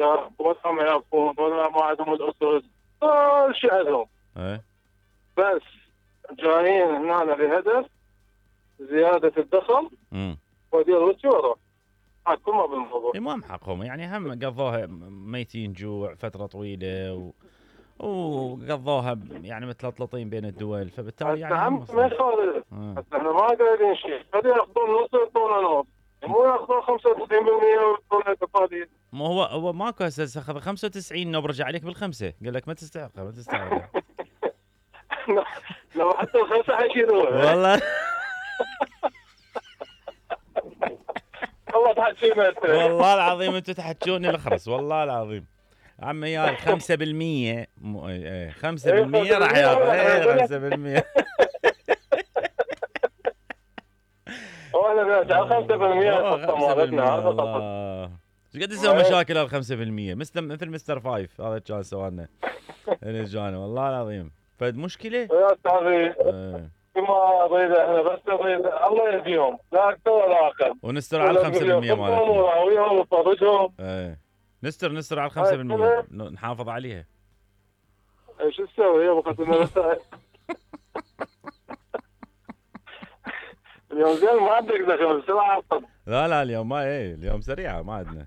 ولا ما يعرفون ولا ما عندهم الاسس، كل شيء عندهم. بس جايين هنا لهدف زياده الدخل ودي روسي وروح. كل ما بالموضوع ما محقهم يعني، هم قضوها ميتين جوع فتره طويله وقضوها يعني متلطلطين بين الدول، فبالتالي يعني هم ما يخالف. احنا ما قايلين شيء، خلي ياخذون نص يعطونا نص، مو ياخذون 95% ويعطونا تقاليد. ما هو ماكو هسه اخذ 95 برجع عليك بالخمسه، قال لك ما تستحق لو حتى الخمسه حيشيلوها والله. والله تحكينا انت، والله العظيم انتم تحكوني الخرس، والله العظيم عمي يا 5% 5% راح ياخذ 5%. وانا بنرجع 5% مالتنا. ايش قد يسوي مشاكل ال 5%؟ مثل مستر فايف هذا كان سوالنا الجاني والله العظيم فد مشكله يا استاذي. ما اريد احنا بس نريد الله يهديهم، لا اكثر ولا اقل، ونستر على 5% مالتنا وياهم وفرجهم. نستر على 5% نحافظ عليها. ايش تسوي يا ابو خالد؟ اليوم زين ما عندك دخل بسرعه. لا اليوم ما اليوم سريعه ما عندنا.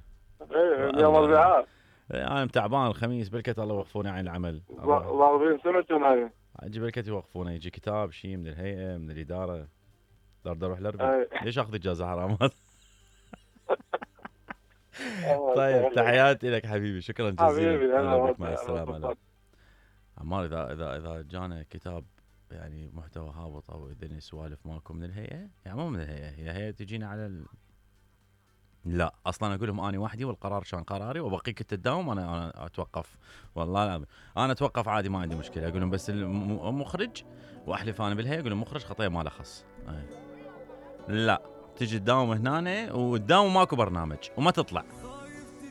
اليوم اربعاء. انا تعبان الخميس بالكت الله يوقفوني عن العمل. 40 سنه كنا اجي بالكت يوقفوني، يجي كتاب شيء من الهيئه من الاداره اقدر اروح الاربع. ليش اخذ اجازه حرامات؟ طيب تحياتي لك حبيبي، شكرا جزيلا حبيبي. مع السلامه. عمار اذا جانا كتاب يعني محتوى هابط او اذا سوالف ماكو من الهيئه، يعني مو من الهيئه، هي هيئه تجينا على لا اصلا اقول لهم اني وحدي والقرار كان قراري وبقيك تداوم، انا اتوقف والله العظيم انا اتوقف عادي ما عندي مشكله. اقول لهم بس المخرج واحلف انا بالهيئه، اقول لهم مخرج خطيه ما له خص. لا تجي تداوم هنا وتداوم ماكو برنامج وما تطلع.